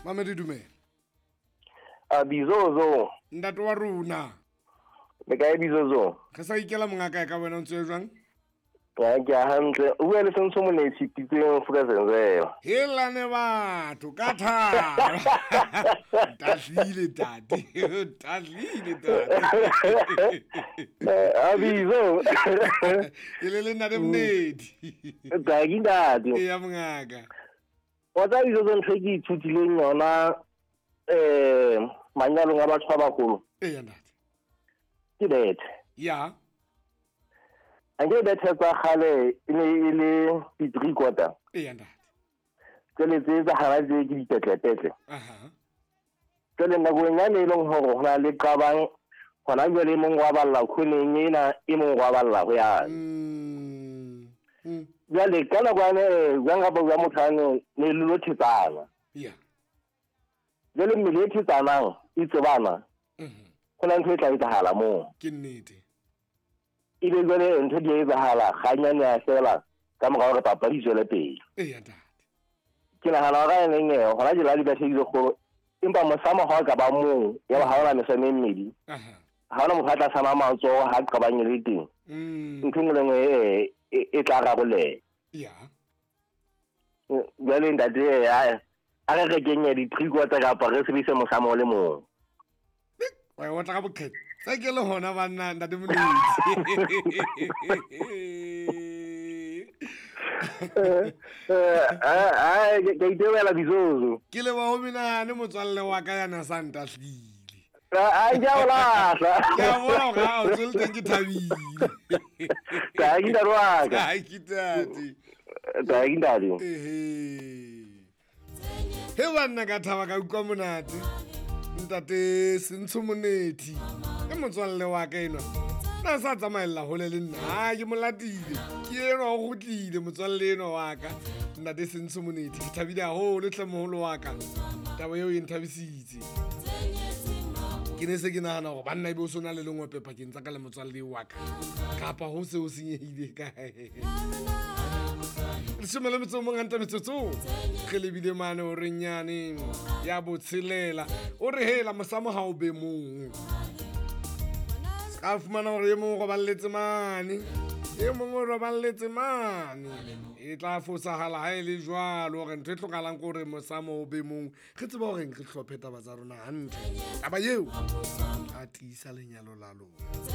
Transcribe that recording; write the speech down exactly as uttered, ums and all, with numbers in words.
Mamedi, dumela. A Bizozo. Ntate wa rona. Le kae, Bizozo? Re sa ikela, mongaka, ka wena o ntse jwang? Ya, ke a hantle. O bua le Sentsho Monetsi Pitseng Fukazenzela. Helane batho ka tharo. Tahlile tate. Tahlile tate. A Bizo. E le le ntate Monetsi. Ka ke, ntate. Eya, mongaka. Wa tsa, Bizozo, ntho e ke ithutileng yona eh manyalong a batho ba bagolo Eya, ntate. ke bethe. Ya. Anke bethe tsa kgale e ne e le di-three quarter. Eya, ntate. Tsele tse tsa hara tse ke dipetlepetle. Aha. Jwale nakong yane e leng hore ho na le qabang, hona jwale e mong wa balla khoneng ena, e mong wa balla ho yane. Mm. Mm. Jwale ka nako yane, jwang kapa jwang, motho ane ne le lo thetsana. Ya. Jwale mmele e thetsanang e tsebana, Mhm. ho na ntho e tla etsahala moo. Ke nnete. Ebe jwale ntho di a etsahala kganyane ya fela ka mora hore papadi e tswele pele. Eya, ntate. Ke nahana hore a neng eh, hona jwale ha di bethe di kgolo, empa mosamo ha o ka ba mong ya ba ha ona mesamo e mmedi, Aha. ha ona motho a tla sama matsoho ha qabang e le teng. Mm. Ntho e nngwe le nngwe e e- e tla rarolleha. Ya. Jwale ntate, a a re rekeng ya di-three quarter kapa re sebedise mosamo o le mong. Wa e otla ka boqhete. Tse ke le hona banna, ntate Monetsi. Eh, ke itebela, Bizozo. Ke leboha ho menahane, motswalle wa ka yana sa ntahlile. A ke a o lahla. Ke a bona hore ha o tswele teng, ke thabile. Ka ke ntate wa ka. Ai, ke tate. Ka ke ntate. Ehe. He banna, ka thaba, ka utlwa monate. Ntate Sentsho Monethi ke motswalle wa ka enwa. Na sa tsamaella hole le nna. Ha ke molatile. Ke enwa o kgutlile, motswalle enwa wa ka. Ntate Sentsho Monethi, ke thabile haholo hle, moholo wa ka. Taba eo e nthabisitse. Ke ne se ke nahana hore banna ebe o so na le lengope pakeng tsa ka le motswalle wa ka. Kapa ho se ho senyehile kae. Leshome le metso o mong hantle metsotso re lebile mane o reng nyane ya botshelela. O re hela, mosamo ha o be mong, ska fumana hore e mong o roballetse mane, e mong o roballetse mane, e tla fosahala ha e le jwalo. Hore ntho e hlokahalang ke hore mosamo o be mong, re tseba horeng re hlophe taba tsa rona hantle. Taba eo a tiisa lenyalo la lona.